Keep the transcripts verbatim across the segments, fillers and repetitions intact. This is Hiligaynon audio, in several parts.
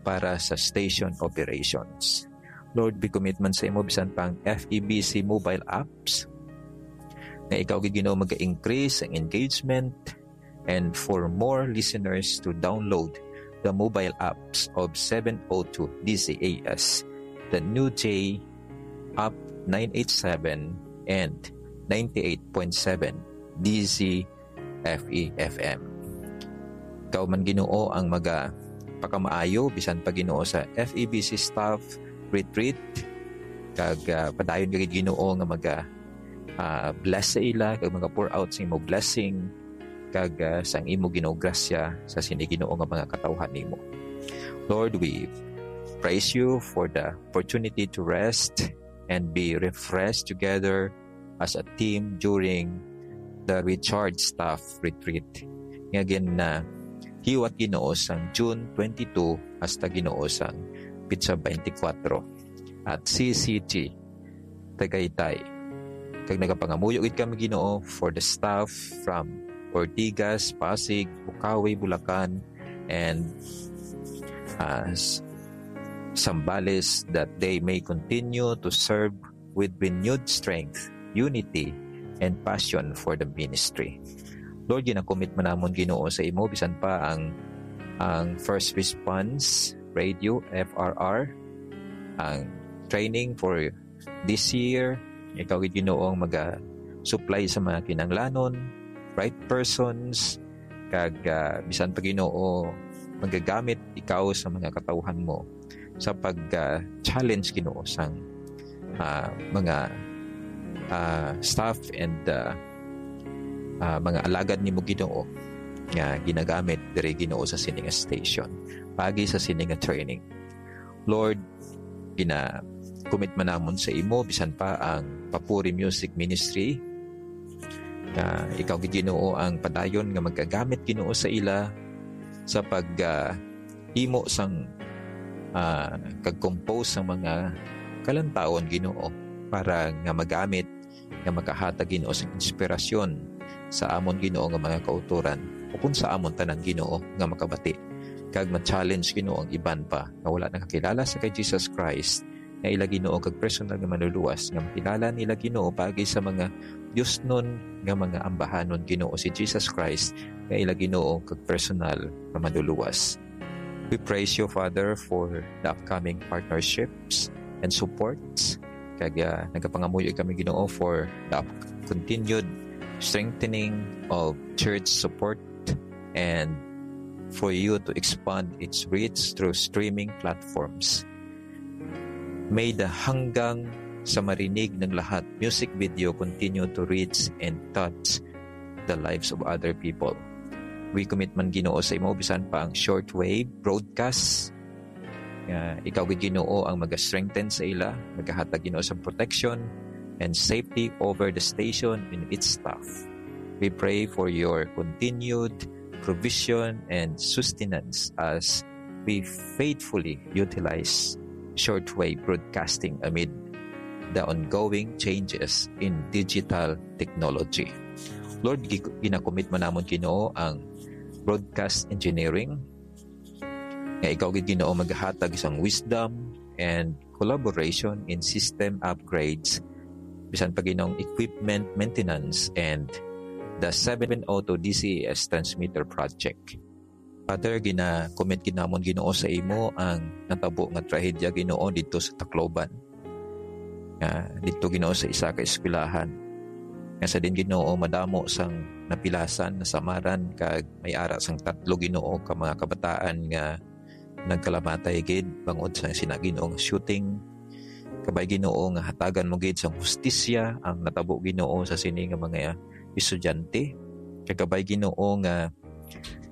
para sa station operations. Lord, we commit man sa imo bisan pa ang F E B C mobile apps, nga ikaw gid, Ginoo, mag-increase ang engagement and for more listeners to download the mobile apps of seven oh two D Z A S, the New J App nine eight seven and ninety-eight point seven D Z F E F M. Ikaw man, Ginoo, ang maga pakamaayo bisan pa, Ginoo, sa F E B C staff retreat, kag, ah, padayon ka gid, Ginoo, nga maga, ah, bless sa ila kag maga pour out sa imo blessing, kag, ah, sang imo, Ginoo, grasya sa sini, Ginoo, nga mga katawhan nimo. Lord, we praise you for the opportunity to rest and be refreshed together as a team during the Recharge Staff Retreat nga gin, ah, hiwat, Ginoo, sang June twenty-two hasta, Ginoo, sang pitsa twenty-four at C C G Tagaytay. Kag nagapangamuyo gid kami, Ginoo, for the staff from Ortigas, Pasig, Bukawi, Bulacan, and, ah, s-, Zambales, that they may continue to serve with renewed strength, unity, and passion for the ministry. Lord, ginakumit man namon, Ginoo, sa imo bisan pa ang, ang First Response Radio, F R R, ang training for this year. Ikaw gid, Ginoo, ang maga-supply sa mga kinahanglanon, right persons, kag, ah, bisan pa, Ginoo, magagamit ikaw sa mga katawhan mo sa pag, ah, challenge, Ginoo, sang, ah, mga, ah, staff and, ah, ah, mga alagad nimo, Ginoo, nga ginagamit diri, Ginoo, sa sini nga station, paagi sa sini nga training. Lord, gina-commit man namon sa imo bisan pa ang Papuri Music Ministry, nga ikaw gid, Ginoo, ang padayon nga magagamit, Ginoo, sa ila sa pag, ah, himo sang, ah, kag-compose sang mga kalantawon, Ginoo, para nga magamit, nga makahatag, Ginoo, sang inspirasyon sa amon, Ginoo, nga mga kautoran, ukon sa amon tanan, Ginoo, nga makabati kag ma-challenge, Ginoo, ang iban pa nga wala nakakilala sa kay Jesus Christ, nga ila, Ginoo, kag personal nga manluluwas, nga makilala nila, Ginoo, paagi sa mga diosnon nga mga ambahanon, Ginoo, si Jesus Christ, nga ila, Ginoo, kag personal nga manluluwas. We praise you, Father, for the upcoming partnerships and supports. Kag, ah, nagapangamuyo kami, Ginoo, for the up-, continued strengthening of church support and for you to expand its reach through streaming platforms. May the Hanggang sa Marinig ng Lahat music video continue to reach and touch the lives of other people. We commit man, Ginoo, sa imo bisan pa ang shortwave broadcast, nga ikaw gid, Ginoo, ang maga-strengthen sa ila, magahatag, Ginoo, sa protection and safety over the station and its staff. We pray for your continued provision and sustenance as we faithfully utilize shortwave broadcasting amid the ongoing changes in digital technology. Lord, gi-, ginakumit man namon, Ginoo, ang broadcast engineering, nga ikaw gid, Ginoo, maghatag sang wisdom and collaboration in system upgrades, bisan pa, Ginoo, ang equipment maintenance and the seven oh two D C A S transmitter project. Father, gina-commit gid namon, Ginoo, sa imo ang natabo nga trahedya, Ginoo, didto sa Tacloban. Nga didto, Ginoo, sa isa ka eskwelahan, nga sa din, Ginoo, madamo sang napilasan, nasamaran, kag may ara sang tatlo, Ginoo, ka mga kabataan nga nagkalamatay gid bangod sa sina, Ginoo, nga shooting. Kabay, Ginoo, nga hatagan mo gid sang hustisya ang natabo, Ginoo, sa sini nga mga estudyante. Kag kabay, Ginoo, nga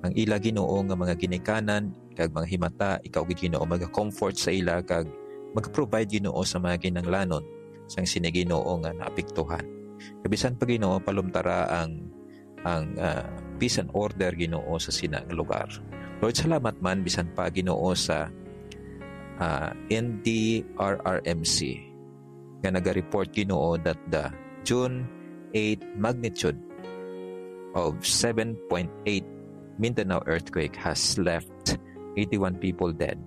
ang ila, Ginoo, nga mga ginikanan kag mga himata, ikaw gid, Ginoo, maga-comfort sa ila kag mag-provide, Ginoo, sa mga kinahanglanon sang sini, Ginoo, nga naapektuhan. Kag bisan pa, Ginoo, palumtara ang, ang, ah, peace and order, Ginoo, sa sina nga lugar. Lord, salamat man bisan pa, Ginoo, sa, ah, N D R R M C nga naga-report, Ginoo, that the June eight magnitude of seven point eight Mindanao earthquake has left eighty-one people dead